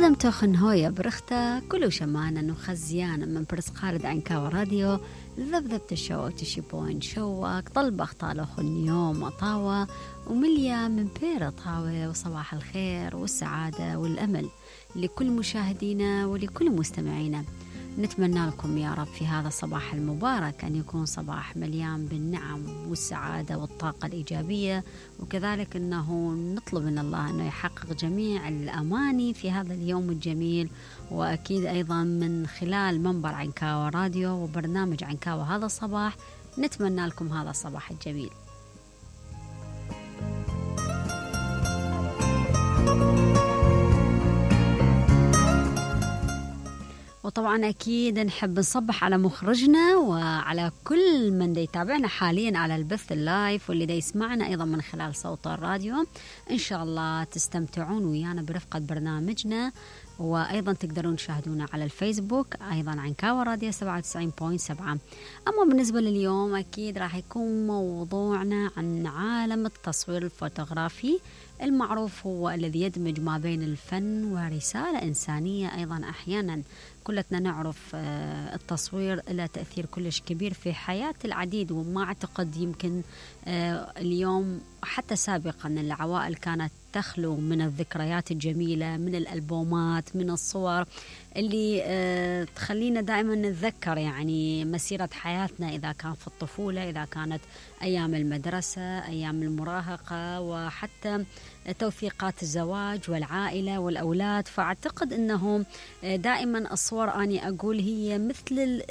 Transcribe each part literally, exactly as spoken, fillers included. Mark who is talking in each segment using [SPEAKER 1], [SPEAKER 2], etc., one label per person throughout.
[SPEAKER 1] خدم توخن هويا برختا كلو شمانا وخزيانا من برس قارد عنكاو راديو ذبذبت الشو تشيبوين شوك طلبخ طالوخن يوم أطاوة ومليا من بير طاوة وصباح الخير والسعادة والأمل لكل مشاهدينا ولكل مستمعينا. نتمنى لكم يا رب في هذا الصباح المبارك أن يكون صباح مليان بالنعم والسعادة والطاقة الإيجابية، وكذلك أنه نطلب من الله أنه يحقق جميع الأماني في هذا اليوم الجميل، وأكيد أيضا من خلال منبر عنكاوة راديو وبرنامج عنكاوة هذا الصباح نتمنى لكم هذا الصباح الجميل. وطبعا أكيد نحب نصبح على مخرجنا وعلى كل من دي يتابعنا حاليا على البث اللايف واللي دي يسمعنا أيضا من خلال صوت الراديو. إن شاء الله تستمتعون ويانا برفقة برنامجنا، وأيضا تقدرون تشاهدونا على الفيسبوك أيضا عنكاوة راديو سبعة وتسعين فاصلة سبعة. أما بالنسبة لليوم أكيد راح يكون موضوعنا عن عالم التصوير الفوتوغرافي المعروف، هو الذي يدمج ما بين الفن ورسالة إنسانية. أيضا أحيانا كلنا نعرف التصوير له تأثير كلش كبير في حياة العديد، وما أعتقد يمكن اليوم حتى سابقا العوائل كانت تخلو من الذكريات الجميلة، من الألبومات، من الصور اللي تخلينا دائما نتذكر يعني مسيرة حياتنا، إذا كان في الطفولة، إذا كانت أيام المدرسة، أيام المراهقة، وحتى توثيقات الزواج والعائلة والأولاد. فأعتقد أنه دائما الصور أني أقول هي مثل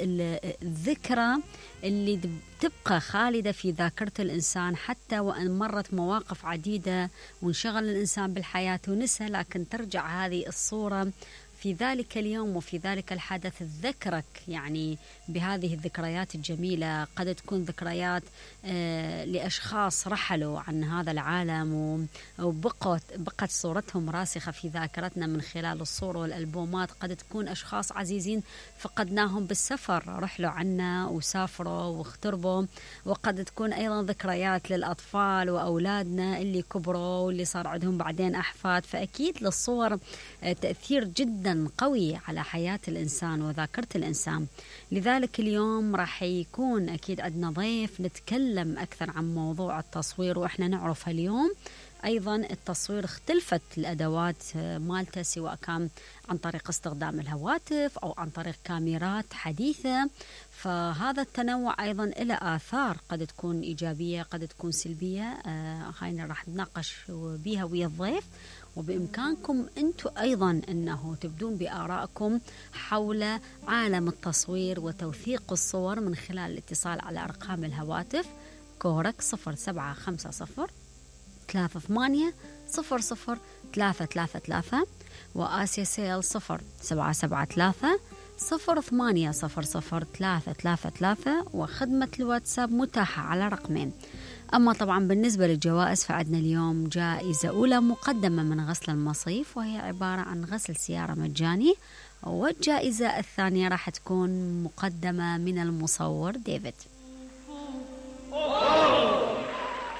[SPEAKER 1] الذكرى اللي تبقى خالدة في ذاكرة الإنسان، حتى وأن مرت مواقف عديدة وانشغل الإنسان بالحياة ونسى، لكن ترجع هذه الصورة في ذلك اليوم وفي ذلك الحدث تذكرك يعني بهذه الذكريات الجميلة. قد تكون ذكريات آه لأشخاص رحلوا عن هذا العالم وبقت بقت صورتهم راسخة في ذاكرتنا من خلال الصور والألبومات. قد تكون أشخاص عزيزين فقدناهم بالسفر، رحلوا عنا وسافروا واغتربوا. وقد تكون أيضا ذكريات للأطفال وأولادنا اللي كبروا واللي صار عندهم بعدين أحفاد. فأكيد للصور آه تأثير جدا قوي على حياة الإنسان وذاكرة الإنسان. لذلك اليوم راح يكون أكيد عندنا ضيف نتكلم أكثر عن موضوع التصوير. وإحنا نعرف اليوم أيضا التصوير اختلفت الأدوات مالته، سواء كان عن طريق استخدام الهواتف أو عن طريق كاميرات حديثة. فهذا التنوع أيضا له آثار قد تكون إيجابية قد تكون سلبية. آه هاي راح نتناقش بيها ويا الضيف، وبإمكانكم أنتم أيضا أنه تبدون بآرائكم حول عالم التصوير وتوثيق الصور من خلال الاتصال على أرقام الهواتف كورك صفر سبعة خمسة صفر ثلاثة ثمانية صفر صفر ثلاثة ثلاثة ثلاثة، وآسيا سيل صفر سبعة سبعة ثلاثة صفر ثمانية صفر صفر ثلاثة ثلاثة ثلاثة، وخدمة الواتساب متاحة على رقمين. أما طبعا بالنسبة للجوائز فعندنا اليوم جائزة أولى مقدمة من غسل المصيف، وهي عبارة عن غسل سيارة مجاني، والجائزة الثانية راح تكون مقدمة من المصور ديفيد.